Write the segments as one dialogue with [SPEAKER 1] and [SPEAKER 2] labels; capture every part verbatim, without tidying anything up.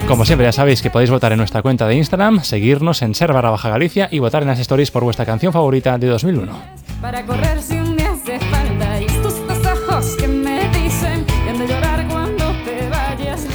[SPEAKER 1] Como siempre, ya sabéis que podéis votar en nuestra cuenta de Instagram, seguirnos en ser barra baja Galicia y votar en las stories por vuestra canción favorita de dos mil uno.
[SPEAKER 2] Para correr si un día hace falta y tus ojos que me dicen que han de llorar cuando te vayas.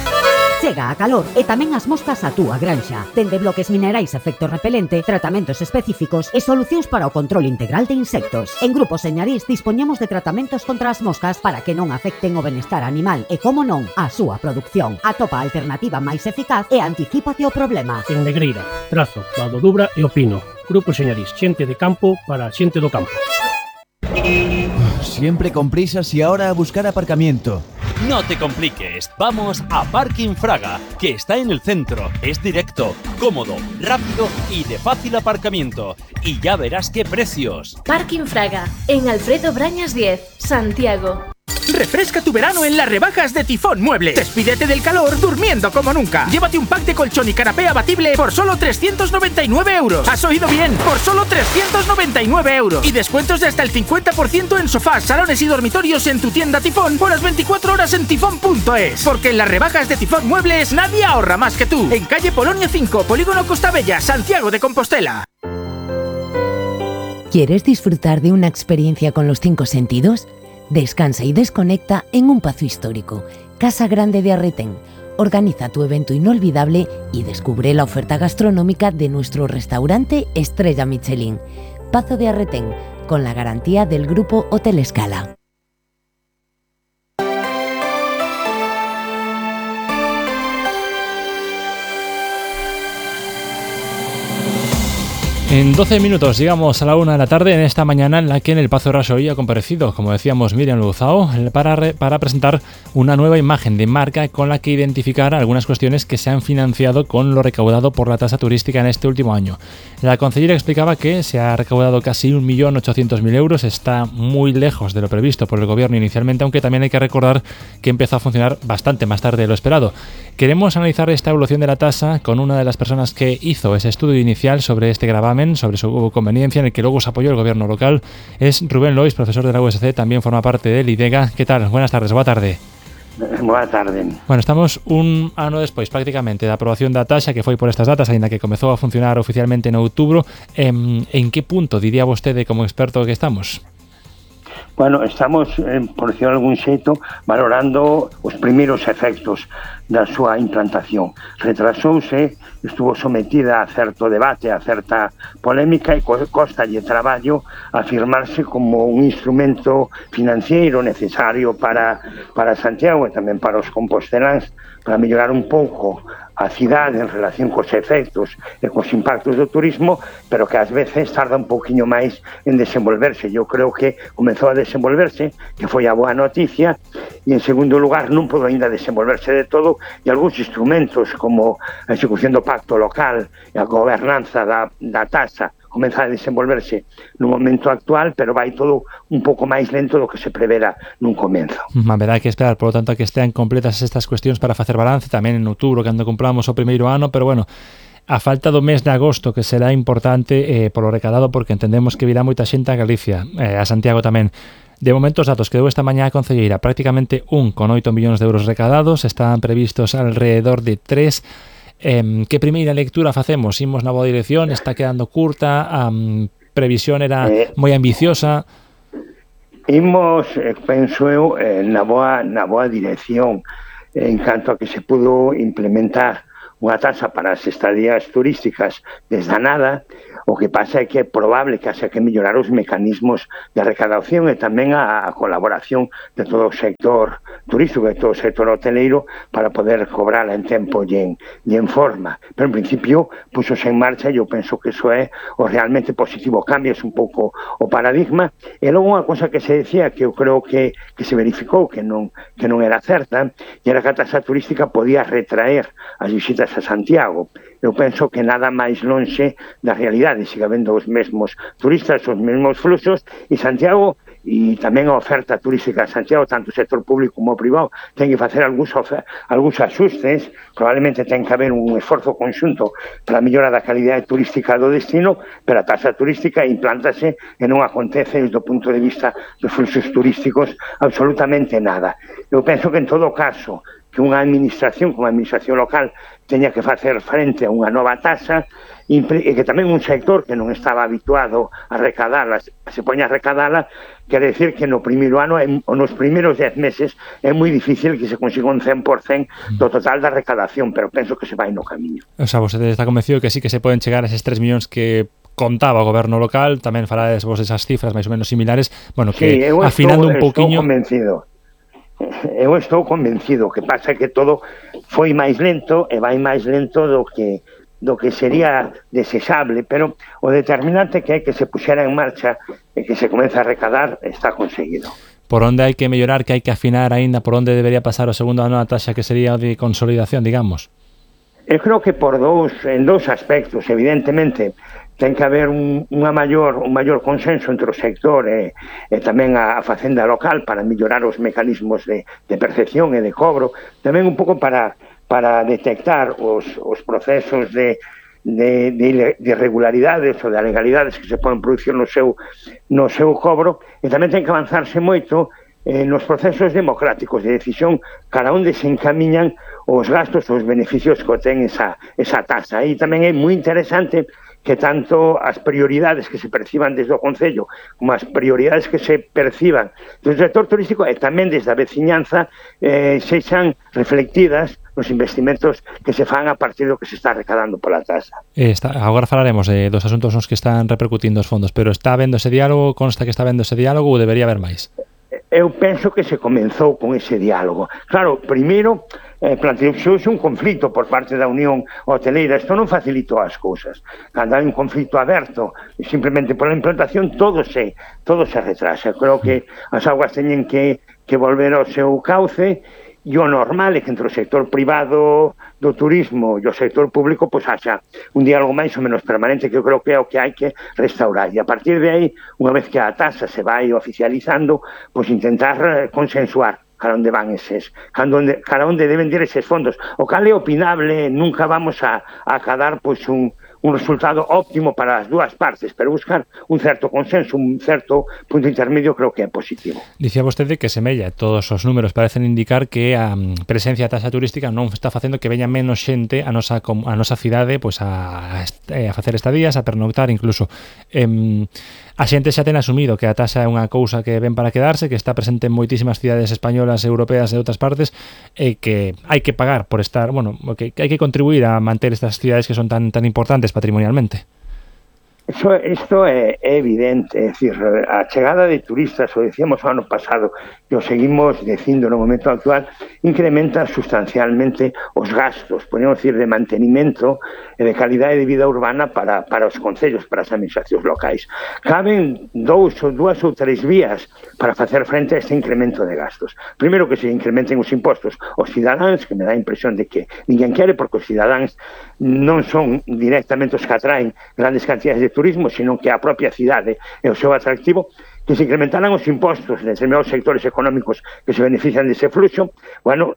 [SPEAKER 3] Chega a calor e tamén as moscas a túa granxa. Dende bloques minerais efecto repelente, tratamentos específicos e solucións para o control integral de insectos. En Grupo Señarís dispoñemos de tratamentos contra as moscas para que non afecten o benestar animal e, como non, a súa produción. Atopa a alternativa máis eficaz e anticípate o problema.
[SPEAKER 4] En Negreira, Trazo, Vado Dubra e Opino. Grupo Señarís, xente de campo para xente do campo.
[SPEAKER 5] Siempre con prisas y ahora a buscar aparcamiento.
[SPEAKER 6] No te compliques, vamos a Parking Fraga, que está en el centro, es directo, cómodo, rápido y de fácil aparcamiento. Y ya verás qué precios.
[SPEAKER 7] Parking Fraga, en Alfredo Brañas diez, Santiago.
[SPEAKER 8] Refresca tu verano en las rebajas de Tifón Muebles. Despídete del calor durmiendo como nunca. Llévate un pack de colchón y canapé abatible por solo trescientos noventa y nueve euros. ¿Has oído bien? Por solo trescientos noventa y nueve euros. Y descuentos de hasta el cincuenta por ciento en sofás, salones y dormitorios en tu tienda Tifón por las veinticuatro horas en tifón punto es. Porque en las rebajas de Tifón Muebles nadie ahorra más que tú. En calle Polonia cinco, Polígono Costa Bella, Santiago de Compostela.
[SPEAKER 9] ¿Quieres disfrutar de una experiencia con los cinco sentidos? Descansa y desconecta en un pazo histórico, Casa Grande de Arretén. Organiza tu evento inolvidable y descubre la oferta gastronómica de nuestro restaurante Estrella Michelin. Pazo de Arretén, con la garantía del Grupo Hotel Escala.
[SPEAKER 1] En doce minutos llegamos a la una de la tarde en esta mañana en la que en el Pazo Rajoy ha comparecido, como decíamos, Miriam Luzao para, re, para presentar una nueva imagen de marca con la que identificar algunas cuestiones que se han financiado con lo recaudado por la tasa turística en este último año. La consellera explicaba que se ha recaudado casi un millón ochocientos mil euros, está muy lejos de lo previsto por el gobierno inicialmente, aunque también hay que recordar que empezó a funcionar bastante más tarde de lo esperado. Queremos analizar esta evolución de la tasa con una de las personas que hizo ese estudio inicial sobre este gravamen, sobre su conveniencia, en el que luego se apoyó el gobierno local. Es Rubén Lois, profesor de la U S C, también forma parte del IDEGA. ¿Qué tal? Buenas tardes, boa tarde.
[SPEAKER 10] Boa tarde.
[SPEAKER 1] Bueno, estamos un ano despois prácticamente da aprobación da taxa, que foi por estas datas, aínda que comezou a funcionar oficialmente en outubro. En, en que punto diría vostede como experto que estamos?
[SPEAKER 10] Bueno, estamos, eh, por decirlo de algún xeito, valorando os primeiros efectos da súa implantación. Retrasouse, estuvo sometida a certo debate, a certa polémica e costalle traballo afirmarse como un instrumento financiero necesario para, para Santiago e tamén para os composteláns, para mellorar un pouco a cidade en relación cos efectos e cos impactos do turismo, pero que ás veces tarda un pouquiño máis en desenvolverse. Eu creo que comezou a desenvolverse, que foi a boa noticia, e en segundo lugar non podo ainda desenvolverse de todo, e algúns instrumentos como a execución do pacto local e a gobernanza da, da tasa comeza a desenvolverse no momento actual, pero vai todo un pouco máis lento do que se prevera nun comenzo.
[SPEAKER 1] Haberá que esperar, por lo tanto, a que estean completas estas cuestións para facer balance, tamén en outubro, cando cumplamos o primeiro ano, pero bueno, a falta do mes de agosto, que será importante eh, polo recadado, porque entendemos que virá moita xente a Galicia, eh, a Santiago tamén. De momento, os datos que deu esta mañá a concelleira, prácticamente un con oito millóns de euros recadados, están previstos alrededor de tres. Eh, que primeira lectura facemos? Imos na boa dirección? Está quedando curta? A um, previsión era eh, moi ambiciosa?
[SPEAKER 10] Imos, eh, penso eu, eh, na, boa, na boa dirección, eh, en canto a que se pudo implementar unha tasa para as estadías turísticas desde a nada. O que pasa é que é probable que haxa que mellorar os mecanismos de recaudación e tamén a, a colaboración de todo o sector turístico e todo o sector hoteleiro para poder cobrala en tempo e en, e en forma. Pero en principio puxose en marcha e eu penso que iso é o realmente positivo. Cambias un pouco o paradigma. E logo unha cosa que se decía que eu creo que, que se verificou que non, que non era certa, e era que a tasa turística podía retraer as visitas a Santiago. Eu penso que nada máis lonxe da realidade, siga vendo os mesmos turistas, os mesmos fluxos, e Santiago, e tamén a oferta turística de Santiago, tanto o sector público como o privado, ten que facer algúns, algúns axustes, probablemente ten que haber un esforzo conxunto para a mellora da calidade turística do destino, pero a taxa turística implántase e non acontece desde o punto de vista dos fluxos turísticos absolutamente nada. Eu penso que en todo caso, que unha administración, como a administración local, teña que facer frente a unha nova taxa, e que tamén un sector que non estaba habituado a recadala, se poña a recadala, quere decir que no primeiro ano, ou nos primeiros dez meses, é moi difícil que se consiga un cen por cento do total da recadación, pero penso que se vai no camiño.
[SPEAKER 1] O sea, vostede está convencido que sí que se poden chegar a eses tres millóns que contaba o goberno local, tamén falades vos esas cifras máis ou menos similares, bueno, que sí, afinando
[SPEAKER 10] estou,
[SPEAKER 1] un poquinho...
[SPEAKER 10] Estou convencido. Eu estou convencido, que pasa que todo foi máis lento e vai máis lento do que do que sería desexable, pero o determinante que é que se puxera en marcha e que se comeza a recadar está conseguido.
[SPEAKER 1] Por onde hai que mellorar, que hai que afinar aínda, por onde debería pasar o segundo ano a taxa que sería de consolidación, digamos?
[SPEAKER 10] Eu creo que por dous, en dous aspectos, evidentemente, ten que haber un, unha maior, un maior consenso entre o sector e, e tamén a, a facenda local para mellorar os mecanismos de, de percepción e de cobro, tamén un pouco para para detectar os, os procesos de, de, de, de irregularidades ou de legalidades que se poden producir no seu, no seu cobro, e tamén ten que avanzarse moito eh, nos procesos democráticos de decisión cara onde se encamiñan os gastos ou os beneficios que ten esa, esa taxa. E tamén é moi interesante que tanto as prioridades que se perciban desde o Concello como as prioridades que se perciban do sector turístico e tamén desde a veciñanza eh, sexan reflectidas nos investimentos que se fan a partir do que se está recadando pola taxa.
[SPEAKER 1] Está, agora falaremos de dos asuntos nos que están repercutindo os fondos, pero está habendo ese diálogo, consta que está habendo ese diálogo ou debería haber máis?
[SPEAKER 10] Eu penso que se comenzou con ese diálogo. Claro, primeiro, eh, planteouse un conflito por parte da Unión Hoteleira. Isto non facilitou as cousas. Cando hai un conflito aberto, simplemente pola implantación, todo se, todo se retrasa. Creo que as augas teñen que, que volver ao seu cauce, e o normal é que entre o sector privado do turismo e o sector público pois haxa un diálogo máis ou menos permanente, que eu creo que é o que hai que restaurar. E a partir de aí, unha vez que a taxa se vai oficializando, pois intentar consensuar cara onde van eses, cara onde, cara onde deben ir eses fondos. O cal é opinable, nunca vamos a, a acadar pois un un resultado óptimo para as dúas partes, pero buscar un certo consenso, un certo punto intermedio creo que é positivo.
[SPEAKER 1] Dicía vostede que semella, todos os números parecen indicar que a presencia da taxa turística non está facendo que veña menos xente a nosa, a nosa cidade pois a, a facer estadías, a pernoctar incluso. Eh, a xente xa ten asumido que a taxa é unha cousa que ven para quedarse, que está presente en moitísimas cidades españolas, europeas e outras partes, e que hai que pagar por estar, bueno, que hai que contribuir a manter estas cidades que son tan tan importantes patrimonialmente.
[SPEAKER 10] Eso, isto é, é evidente, é dicir, a chegada de turistas, o decíamos o ano pasado, que o seguimos dicindo no momento actual, incrementa sustancialmente os gastos, podemos decir, de mantenimento e de calidade de vida urbana para, para os concellos, para as administracións locais. Caben dous ou dúas ou tres vías para facer frente a este incremento de gastos. Primeiro, que se incrementen os impostos aos cidadáns, que me dá a impresión de que ninguén quere, porque os cidadáns non son directamente os que atraen grandes cantidades de turismo, sino que a propia cidade é o seu atractivo, que se incrementaran os impostos de determinados sectores económicos que se benefician dese fluxo. Bueno,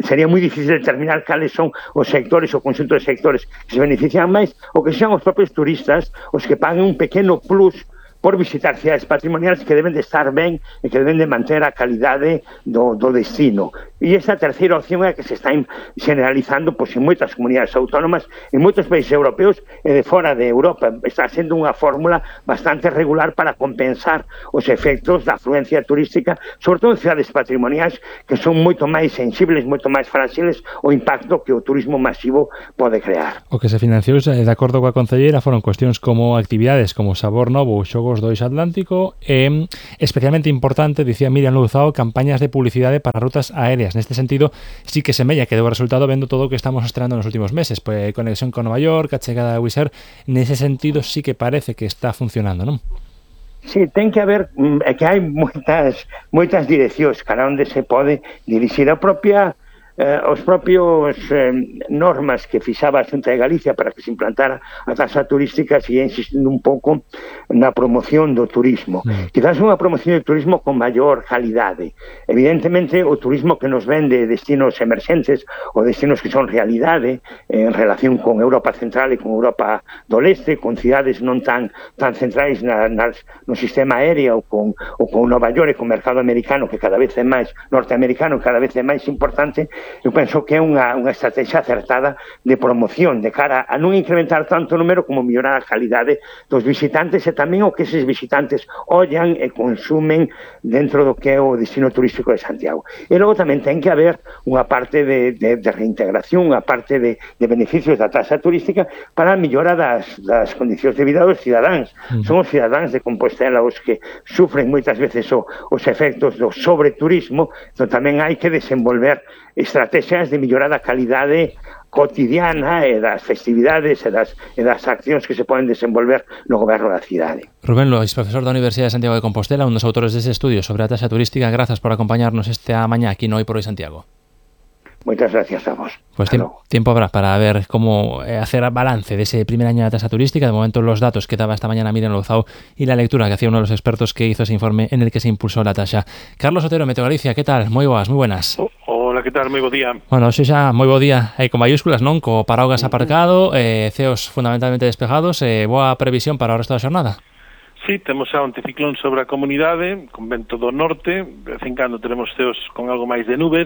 [SPEAKER 10] sería moi difícil determinar cales son os sectores, o conxunto de sectores que se benefician máis, ou que sean os propios turistas os que paguen un pequeno plus por visitar cidades patrimoniais que deben de estar ben e que deben de manter a calidade do, do destino. E esta terceira opción é que se está generalizando pois, en moitas comunidades autónomas, en moitos países europeos e de fora de Europa. Está sendo unha fórmula bastante regular para compensar os efectos da afluencia turística, sobre todo en cidades patrimoniais que son moito máis sensibles, moito máis frágiles ao impacto que o turismo masivo pode crear.
[SPEAKER 1] O que se financiou, de acordo coa concelleira, foron cuestións como actividades como Sabor Novo ou Xogos do Eixo Atlántico e, especialmente importante, dicía Miriam Louzao, campañas de publicidade para rutas aéreas. Neste sentido, sí que semella que deu resultado vendo todo o que estamos estrenando nos últimos meses, pois conexión con Nova York, a chegada de Wizz Air, nese sentido sí que parece que está funcionando, non?
[SPEAKER 10] Sí, ten que haber, é que hai moitas moitas direccións cara onde se pode dirixir a propia eh, os propios eh, normas que fixaba a Xunta de Galicia para que se implantara a taxa turística sigue insistindo un pouco na promoción do turismo. Mm. Quizás unha promoción do turismo con maior calidade. Evidentemente, o turismo que nos vende destinos emerxentes ou destinos que son realidade eh, en relación con Europa Central e con Europa do Leste, con cidades non tan tan centrais na, nas, no sistema aéreo ou con, ou con Nova York e con o mercado americano que cada vez é máis norteamericano, cada vez é máis importante. eu penso que é unha, unha estrategia acertada de promoción de cara a non incrementar tanto o número como mellorar a calidade dos visitantes e tamén o que eses visitantes ollan e consumen dentro do que é o destino turístico de Santiago. E logo tamén ten que haber unha parte de, de, de reintegración, unha parte de, de beneficios da taxa turística para a mellora das, das condicións de vida dos cidadáns. Mm. Son os cidadáns de Compostela os que sufren moitas veces o, os efectos do sobreturismo, entón tamén hai que desenvolver estrategias de mellorar a calidade cotidiana e das festividades e das, e das accións que se poden desenvolver no goberno da cidade.
[SPEAKER 1] Rubén Lois, profesor da Universidade de Santiago de Compostela, un dos autores deste estudio sobre a taxa turística. Grazas por acompañarnos esta mañá aquí no Hoy por Hoy Santiago.
[SPEAKER 10] Muchas gracias a vos.
[SPEAKER 1] Pues tiempo, tiempo habrá para ver cómo eh, hacer balance de ese primer año de la tasa turística. De momento los datos que daba esta mañana Miriam Louzao y la lectura que hacía uno de los expertos que hizo ese informe en el que se impulsó la tasa. Carlos Otero, Meteo Galicia, ¿qué tal? Moi boas, moi buenas.
[SPEAKER 11] Oh, hola, ¿qué tal? Moi bo día.
[SPEAKER 1] Bueno, hoxe xa moi bo día eh, con mayúsculas, non? Co paraugas aparcado, eh, ceos fundamentalmente despejados, eh, boa previsión para o resto da xornada.
[SPEAKER 11] Sí, temos xa un anticiclón sobre a comunidade, con vento do norte, de vez en cando teremos ceos con algo máis de nubes,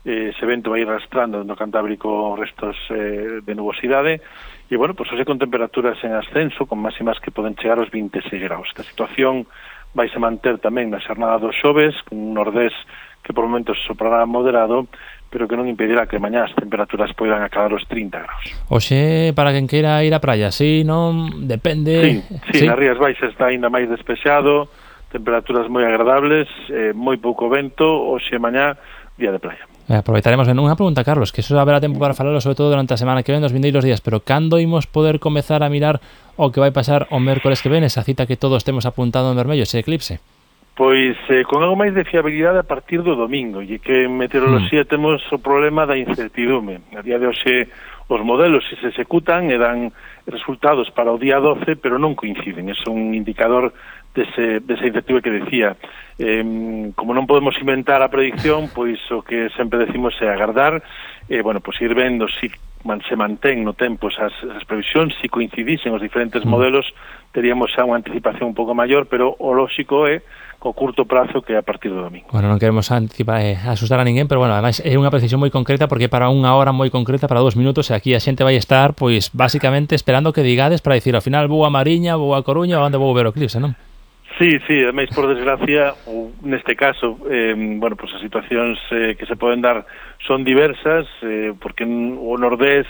[SPEAKER 11] eh, ese vento vai arrastrando no Cantábrico restos eh, de nubosidade, e, bueno, pois hoxe con temperaturas en ascenso, con máximas que poden chegar aos vinte e seis graus. Esta situación vai se manter tamén na xornada dos xoves, con un nordés que por momentos soprará moderado, pero que non impedirá que mañá as temperaturas poidan acabar os trinta graus.
[SPEAKER 1] Oxe, para quen queira ir á praia, sí, non? Depende...
[SPEAKER 11] Sí, sí, ¿sí? Nas Rías Baixas está ainda máis despexado, temperaturas moi agradables, eh, moi pouco vento, oxe mañá, día de praia.
[SPEAKER 1] Eh, aproveitaremos ben unha pregunta, Carlos, que eso haberá tempo para falalo sobre todo durante a semana que ven, nos vindeiros días, pero cando imos poder comezar a mirar o que vai pasar o mércores que ven, esa cita que todos temos apuntado en vermello, ese eclipse?
[SPEAKER 11] Pois eh, con algo máis de fiabilidade a partir do domingo, e que en meteoroloxía mm. temos o problema da incertidume. A día de hoxe os modelos se executan e dan resultados para o día doce, pero non coinciden. É un indicador dese, desa incertidumbre que decía. Eh, como non podemos inventar a predicción, pois o que sempre decimos é agardar, e, bueno, pois ir vendo se man, se mantén no tempo esas, esas previsións, se coincidisen os diferentes mm. modelos, teríamos xa unha anticipación un pouco maior, pero o lóxico é o curto prazo que é a partir do domingo.
[SPEAKER 1] Bueno, non queremos anticipar, eh, asustar a ninguén, pero bueno, además é unha precisión moi concreta porque para unha hora moi concreta, para dos minutos, e aquí a xente vai estar, pois, basicamente esperando que digades para dicir, ao final, vou a Mariña, vou a Coruña, onde vou ver o eclipse, non?
[SPEAKER 11] Sí, sí, ademais, por desgracia, ou neste caso, eh, bueno, pues as situacións eh, que se poden dar son diversas, eh, porque o nordés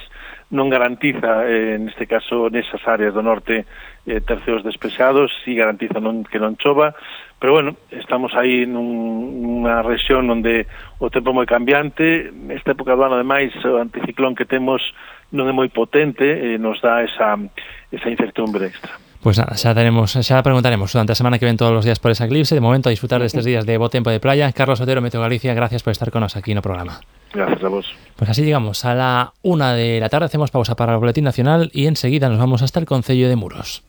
[SPEAKER 11] non garantiza, eh, neste caso, nesas áreas do norte, eh, terceos despexados, si garantiza non, que non chova, pero bueno, estamos aí nun, nunha rexión onde o tempo é moi cambiante, nesta época do ano, ademais, o anticiclón que temos non é moi potente, eh, nos dá esa, esa incertidumbre extra.
[SPEAKER 1] Pues nada, xa tenemos, xa preguntaremos durante a semana que ven todos os días por esa eclipse. De momento, a disfrutar destes días de bo tempo de playa. Carlos Otero, Meteo Galicia, gracias por estar con nos aquí no programa.
[SPEAKER 11] Gracias a vos.
[SPEAKER 1] Pues así llegamos a la una de la tarde, hacemos pausa para el Boletín Nacional y enseguida nos vamos hasta el Concello de Muros.